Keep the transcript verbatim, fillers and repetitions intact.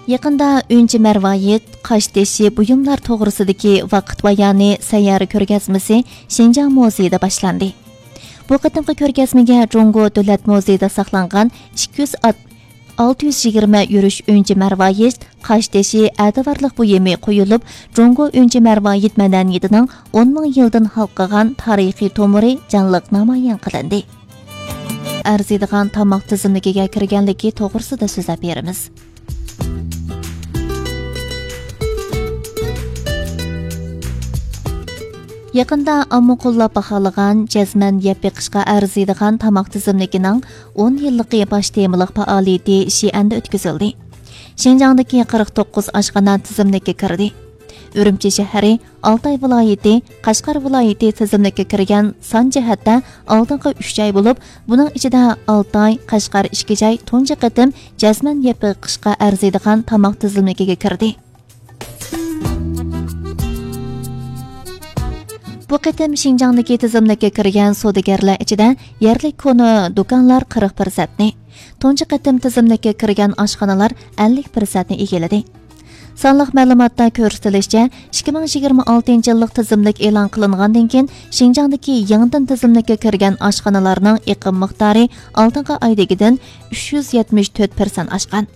يېقىندا ئۈنچە مەرۋايىت، قاشتېشى بۇيۇملار توغرىسىدىكى ۋاقىت بايانى سەييارە كۆرگەزمىسى شىنجاڭ مۇزېيىدا باشلاندى. بۇ قېتىمقى كۆرگەزمىگە جۇڭگو دۆلەت مۇزېيىدا ساقلانغان ئىككى يۈز ئات-، ئالتە يۈز يىگىرمە يۈرۈش ئۈنچە مەرۋايىت، قاشتېشى، ئەتىۋارلىق بۇيۇمى قويۇلۇپ، جۇڭگو ئۈنچە مەرۋايىت مەدەنىيىتىنىڭ ئون مىڭ يىلدىن ھالقىغان تارىخىي تومۇرى جانلىق نامايان قىلىندى. ئەرزىيدىغان تاماق تىزىملىكىگە كىرگەنلىكى توغرىسىدا سۆزلەپ بېرىمىز. يېقىندا ئامما قوللاپ باھالىغان جەزمەن يەپ بېقىشقا ئەرزىيدىغان تاماق تىزىملىكىنىڭ ئون يىللىقى باش تېمىلىق پائالىيىتى شىئەندە ئۆتكۈزۈلدى. شىنجاڭدىكى قىرىق توققۇز ئاشخانا تىزىملىككە كىردى. ئۈرۈمچى شەھىرى، ئالتاي ۋىلايىتى، قەشقەر ۋىلايىتى تىزىملىككە كىرگەن سان جەھەتتە ئالدىنقى ئۈچ جاي بولۇپ، بۇنىڭ ئىچىدە ئالتاي، قەشقەر ئىككى جاي تۇنجى قېتىم جەزمەن يەپ بېقىشقا ئەرزىيدىغان تاماق تىزىملىكىگە كىردى. بۇ قېتىم شىنجاڭدىكى تىزىملىككە كىرگەن سودىگەرلەر ئىچىدە يەرلىك كونا دۇكانلار قىرىق پىرسەنتنى، تۇنجى قېتىم تىزىملىككە كىرگەن ئاشخانىلار ئەللىك پىرسەنتنى ئىگىلىدى. سانلىق مەلۇماتتا كۆرسىتىلىشىچە، ئىككى مىڭ يىگىرمە ئالتىنچى يىللىق تىزىملىك ئېلان قىلىنغاندىن كېيىن، شىنجاڭدىكى يېڭىدىن تىزىملىككە كىرگەن ئاشخانىلارنىڭ ئېقىم مىقدارى ئالدىنقى ئايدىكىدىن ئۈچ يۈز يەتمىش تۆت پىرسەنت ئاشقان.